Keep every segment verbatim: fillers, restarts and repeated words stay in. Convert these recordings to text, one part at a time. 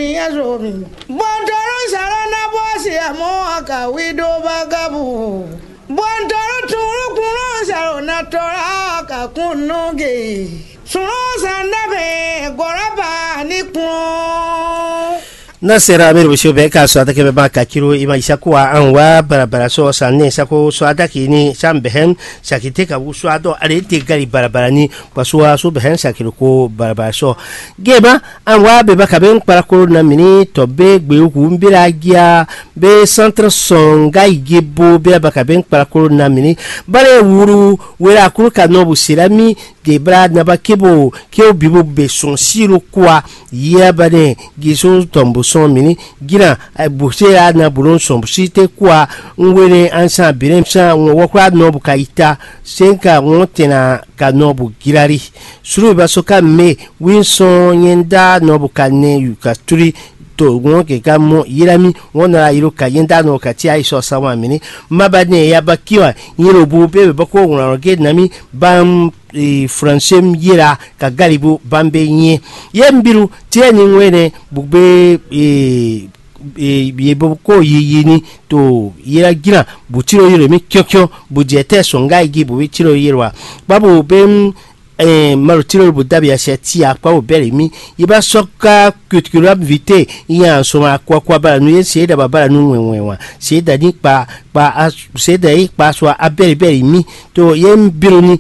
Bɔntɔlɔ salo na bɔ si amɔ ka wi do bagabu. Bɔntɔlɔ tunlu kunlɔ salo na tɔla ka kun nɔge. Sunlɔ sanda bɛ gɔlaba ni kun. Na sera mi ro sio bɛ ka so atake bɛ ma ka kiro ima isako wa an wa barabara so sa ne sako so atake ni sam bɛhɛn sakite ka wu so adɔ ale te gari barabara ni. Paso wa so bɛhɛn sakiro ko barabara so. Geba an wa beba ka bɛ nkpara koro na mini tɔ be gbe wu mbira gia be santre sɔn nga yi gebo be abaka bɛ nkpara koro na mini. Bale wuru wera kuru ka nɔ bu sira mi. Debra naba kebo keo bibo be sɔn siro kwa. Yia ba ne giso tɔn bo sɔn mini. Gina buse ya na bo sɔn si te kwa. Ngwene ansa bine sa wɔkura nɔ bu ka ita. Senka wɔn tena ka nɔ bu girari. Suru ba so ka me. Wi sɔn yɛn da nɔ bu ka nɛ yu ka tuli. To wɔn keka mɔ yira mi. Wɔn nɔ la yiro ka yɛn da nɔ ka ti ayi sɔ sa wa mini. Ma ba ne ya ba kiwa. Yin lo bu be be bɔ ko wɔn ge na mi. Bam e, fransem yera ka galibu bambe nyɛ. Ye mbiru tiɛ ni ŋwe ne bugbe e, e, ye bo ko yiyi ni to yera gina bu tiro yero mi kyɔkyɔ bu jɛ tɛ sɔnga yi gi bu bi tiro yero wa. Babu be m eh, malo tiro bu dabi asia ti akpa bu bɛri mi. Ye ba sɔ ka kutukulam vite. Yan sɔma akwa akwa bala nu ye se da ba bala nu wɛn wɛn wa se da ni kpa kpa a se da yi kpa sɔ abɛri bɛri mi. To ye mbiro ni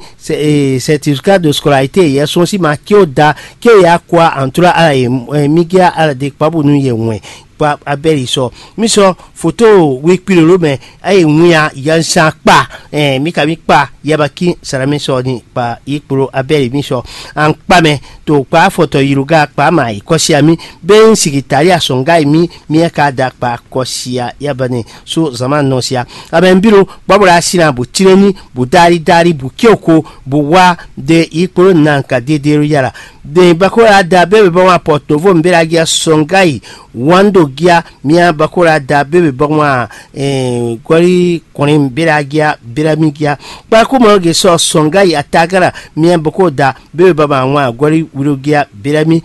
certificat de scolarité yɛ sɔn si ma kí o da kí o ya kɔ antura ala yɛ mi gé ala de kpa bonu yɛ wɛn kpa abɛli sɔ. Mi sɔ foto wi kpi lolo mɛ ayi ŋu ya yansan kpa. Mi ka mi kpa yaba kí sara mi sɔ ni kpa yi kpolo abɛli mi sɔ an kpa mɛ to kpa afɔtɔ yiruga kpa ma yi kɔsia mi. Be n sigi tali asɔnga yi mi mi ka da kpa kɔsia yaba ne so zama nɔ sia. Abɛ n biro bɔbɔ la sina bu tireni bu dari dari bu kioko bu wa de yi kpolo nan ka dedero yala. Den bakola da bebe bɔ ŋa pɔtovo mbela gia sɔngai wando gia mia bakola da bebe bɔ ŋa gɔli kɔni mbela gia bela mi gia. Kpakuma ge sɔ sɔngai atagara mia bako da bebe bɔ ŋa gɔli wilo gia bela mi.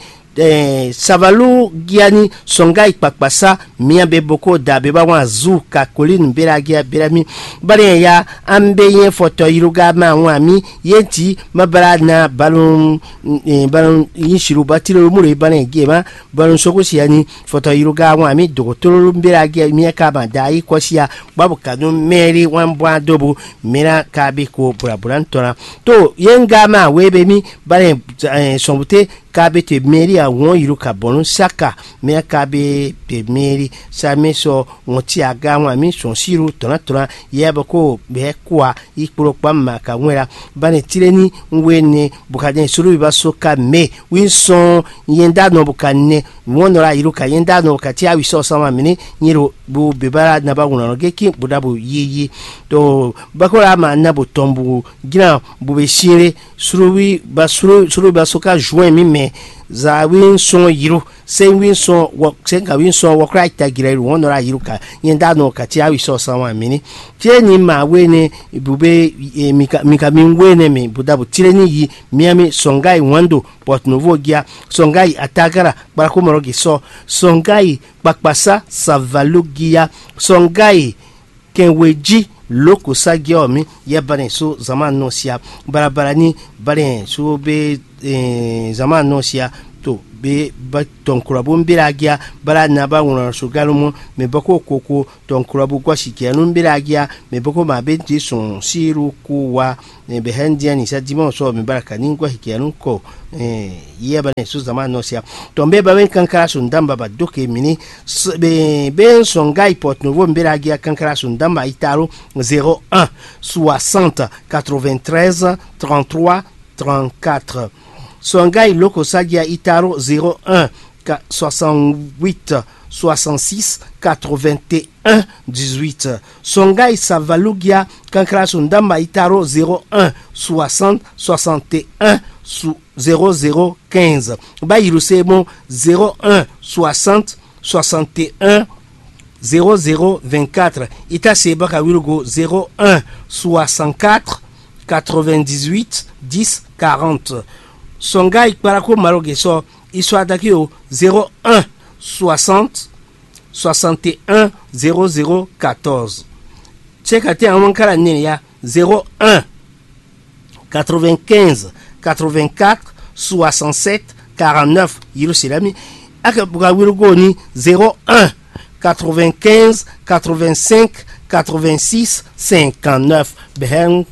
Savalu gia ni sɔngai kpakpasa mia be boko da be ba ŋa zu ka kolin bela gia bela mi. Bali ya an be yɛn fɔtɔ yiruga ma ŋa mi yenti ma bala na balun. Balun yin siru batilo mu le bana ge ma balun soko sia ni fɔtɔ yiruga ŋa mi dogotolo bela ge mi ka ma da yi kɔsia. Babu kanu mɛri wan bwa dobu mira ka bi ko bula bula ntɔna. To ye nga ma we be mi bana sɔnbute ka be te mɛri a wɔn yiru ka bɔnu saka mira ka be te mɛri sa mi sɔ ŋɔti aga ŋu ami sɔn siru tɔnatɔna yɛ bɔ ko bɛ kua yi kplɔkpa ma ka ŋwɛ la. Bane tireni ŋwe ne bukadɛ sulu ba so ka me wi sɔn yɛn da nɔ buka nɛ wɔn nɔ la yiru ka yɛn da nɔ buka ti awi sɔ sama mini nyi lo bu beba na ba ŋun nɔ geki bu da bu yi yi to bako la ma na bu tɔn bu gina bu be siere sulu wi ba sulu sulu ba so ka juin mi mɛ za wi sɔn yiru. Sɛnwi sɔn wɔ sɛnkawi sɔn wɔkla tagirɛ wɔn nɔ la yiru ka nyɛ da nɔ ka ti awi sɔ san wa mini. Tie ni ma we ne bu be mi ka mi we ne mi bu da bu tire ni yi miami sɔngai wando pɔtnovo gia sɔngai atagara kpalakomɔrɔ gi sɔ sɔngai kpakpasa savalo gia sɔngai kɛnweji loko sa giɔ mi yɛ banɛ so zama nɔ sia balabala ni banɛ so be zama nɔ sia to be ba tɔnkura bo mbela gia bala na ba wlɔn so galo mɔ mɛ bɔ ko koko tɔnkura bo gɔsi kia nu mbela gia mɛ bɔ ko ma be ti sɔn siru ko wa. Bɛ hɛn dia ni sa dimɔ sɔ mi bala ka ni gɔsi kia nu kɔ. Yɛ banɛ so zama nɔ sia tɔn be ba be kankara so ndamba ba doke mini. Be sɔn ga ipɔtnovo mbela gia kankara so ndamba itaro zéro un soixante quatre-vingt-treize trente-trois trente-quatre. Sɔngai loko sagia itaro zéro un soixante-huit soixante-six quatre-vingt-un dix-huit. Sɔngai savalugia kankara so ndamba itaro zéro un soixante soixante-un zéro zéro quinze. Ba yiru se mo zéro un soixante soixante-un zéro zéro vingt-quatre. Ita se baka wilogo zéro un soixante-quatre quatre-vingt-dix-huit dix quarante. Sɔngai kparako maloge sɔ iso adaki o zéro un soixante soixante et un zéro zéro quatorze. Cɛkatɛ awɔnkala nɛya zéro un quatre-vingt-quinze quatre-vingt-quatre soixante-sept quarante-neuf. Yerusalem. Aka buka wirugo ni zéro un quatre-vingt-quinze quatre-vingt-cinq quatre-vingt-six cinquante-neuf. Bɛhɛn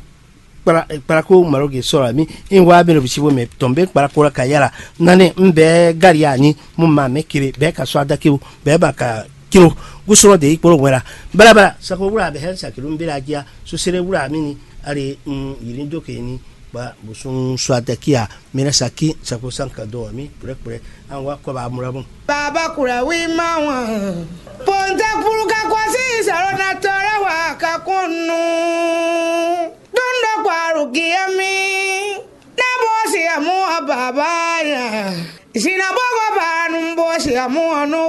kpla kpla ko maro ge sɔrɔ mi. In wa bɛ no bisi bo mɛ tɔn bɛ kpla ko la ka yala. Nane n bɛ gari ani mo ma mɛ kele bɛ ka sɔ adaki o bɛ ba ka kilo. Gusɔnɔ de yi kpolo wɛla. Bala bala sako wula bɛ hɛn sakilu n bɛ la jia. Sosere wula mi ni. Ale n yiri do ke ni. Kpa bosun sɔ adaki a. Mi na saki sako san ka do mi kple kple. An wa kɔ ba amura mo. Baba kura wi ma wan. Ponte kpulu ka kwasi sɔrɔ na tɔrɔ wa ka kɔnnu. Dundɔ kwaru giya mi. Na bosi amu a baba ya. Zina bogo ba nu bosi amu anu.